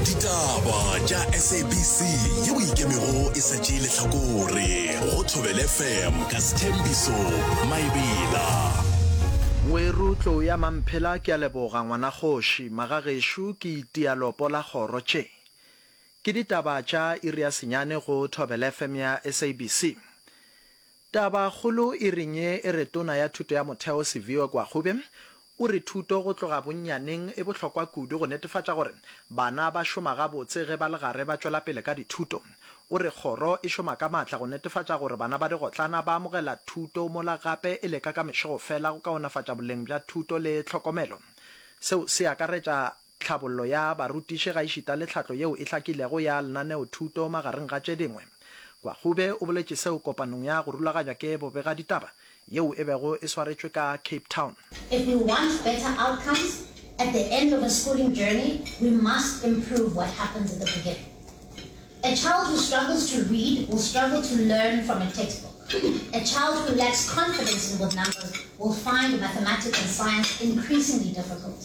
Ditaba tša SABC yeo e ikemego e sa tšee lehlakore go Thobela FM ka Sthembiso Maebela. Ngweru tlou ya Mamphela ke a leboga ngwana kgoši magagešo ke itia lopo la kgoro tše ke ditaba tša iri ya senyane go Thobela FM ya SABC Taba kgolo e reng ye e re Tona ya Thuto ya Motheo Siviwe Gwarube o re thuto go tloga bonnyaneng e bohlokwa kudu go netefatša gore bana ba šoma gabotse ge ba le gare ba tšwela pele ka dithuto. O re kgoro e šoma ka maatla go netefatša gore bana ba digotlana ba amogela thuto mola gape e leka ka mešegofela go kaonafatša boleng bja thuto le tlhokomelo. Seo se akaretša tlhabollo ya barutiši gaešita le tlhahlo yeo e hlakilego ya lenaneothuto magareng ga tše dingwe. Kwagube o boletše seo kopanong ya go rulaganywa ke bobegaditaba yeo e bego e swaretšwe ka Cape Town. If we want better outcomes at the end of a schooling journey, we must improve what happens at the beginning. A child who struggles to read will struggle to learn from a textbook. A child who lacks confidence in with numbers will find mathematics and science increasingly difficult.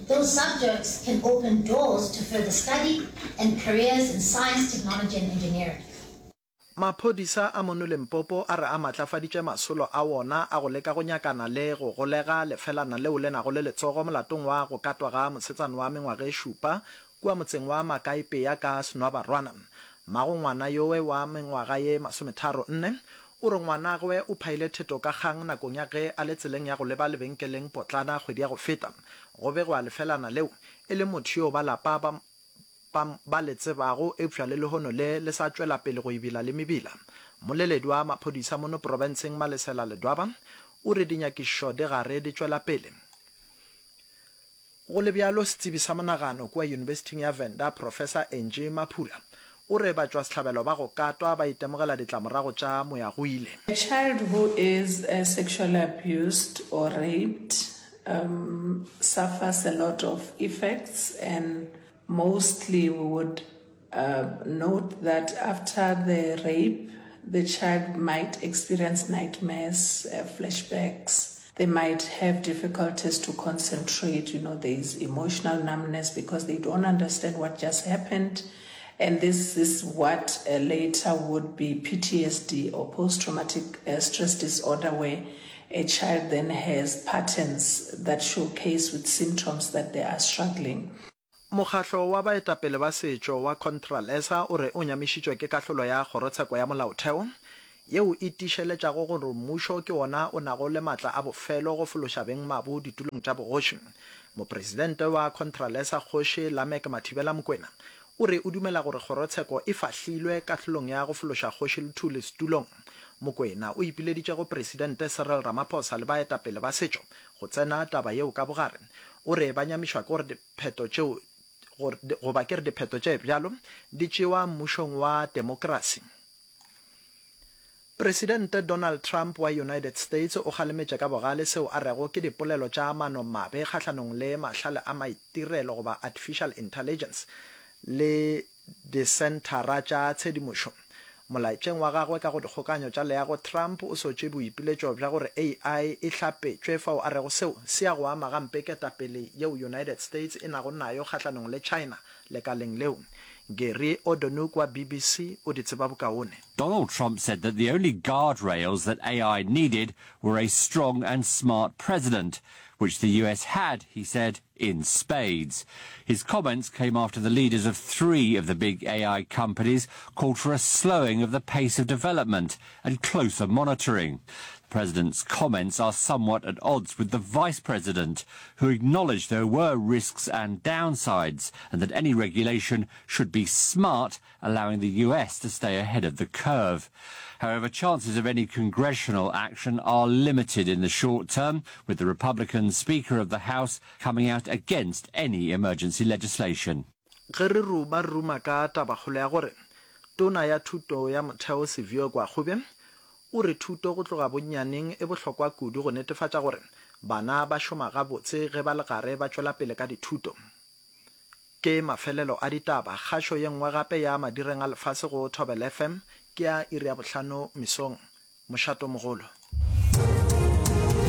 Those subjects can open doors to further study and careers in science, technology and engineering. Maphodisa a mono Limpopo a re a matlafaditše masolo a wona a go leka go nyakana le go golega lefelana leo le nago le letsogo molatong wa go katwa ga mosetsana wa mengwaga e šupa kua motseng wa Makaipea ka Senwabarwana. Mmago ngwana yowe wa mengwaga ye masometharo nne o re ngwanagwe o phaile theto ka kgang nakong ya ge a le tseleng ya go leba lebenkeleng potlana kgwedi ya go feta. Go begwa lefelana leo e le motho yo ba lapa ba ba ba le tsebago eupša le lehono le le sa tšwela pele go ebila le mebila. Mmoleledi wa maphodisa mono profenseng Malesela Ledwaba o re dinyakišišo di gare di tšwela pele. Go le bjalo, setsebi sa monagano kua Yunibesithing ya Venda, Professor Angie Maphula, o re batšwasehlabelo ba go katwa ba itemogela ditlamorago tša moyagoile. A child who is sexually abused or raped suffers a lot of effects and mostly we would note that after the rape the child might experience nightmares, flashbacks, they might have difficulties to concentrate, you know, there is emotional numbness because they don't understand what just happened. And this is what uh, later would be PTSD or post traumatic uh, stress disorder, where a child then has patterns that showcase with symptoms that they are struggling. Mokgahlo wa baetapele ba setšo wa Contralesa o re o nyamišitšwe ke kahlolo ya Kgorotsheko ya Molaotheo yeo e tiišeletšago gore mmušo ke wona o nago le maatla a bofelo go fološa bengmabu ditulong tša bogoši. Mopresidente wa Contralesa Kgoši Lameck Mathibela Mokwena o re o dumela gore kgorotsheko e fahlilwe kahlolong ya go fološa Kgoši Luthuli setulong. Mokwena o ipileditše go Presidente Cyril Ramaphosa le baetapele ba setšo go tsena taba yeo ka bogare. O re ba nyamišwa ke gore dipheto tšeo goba ke re dipheto tše bjalo di tšewa mmušong wa temokrasi. Presidente Donald Trump wa United States o kgalemetše ka bogale seo a rego ke dipolelo tša manomabe kgahlanong le mahlale a maitirelo goba artificial intelligence le disenthara tša tshedimošo. Molaetšeng wa gagwe ka go dikgokanyo tša leago, Trump o sotše boipiletšo bja gore AI e hlapetšwe fao a rego seo se ya go ama gampe ketapele yeo United States e nago nayo kgahlanong le China lekaleng leo. Gary O'Donoghue wa BBC o di tseba bokaone. Donald Trump said that the only guardrails that AI needed were a strong and smart president, which the US had, he said, in spades. His comments came after the leaders of three of the big AI companies called for a slowing of the pace of development and closer monitoring. The president's comments are somewhat at odds with the vice president, who acknowledged there were risks and downsides and that any regulation should be smart, allowing the US to stay ahead of the curve. However, chances of any congressional action are limited in the short term, with the Republican Speaker of the House coming out against any emergency legislation. Ge re ruma re ruma ka tabakgolo ya gore Tona ya Thuto ya Motheo Siviwe Gwarube o re thuto go tloga bonnyaneng e bohlokwa kudu go netefatša gore bana ba šoma gabotse ge ba le gare ba tšwela pele ka dithuto. Ke mafelelo a ditaba. Kgašo ye nngwe gape ya madireng a lefase go Thobela FM ke ya iri ya bohlano mesong. Mošato mogolo.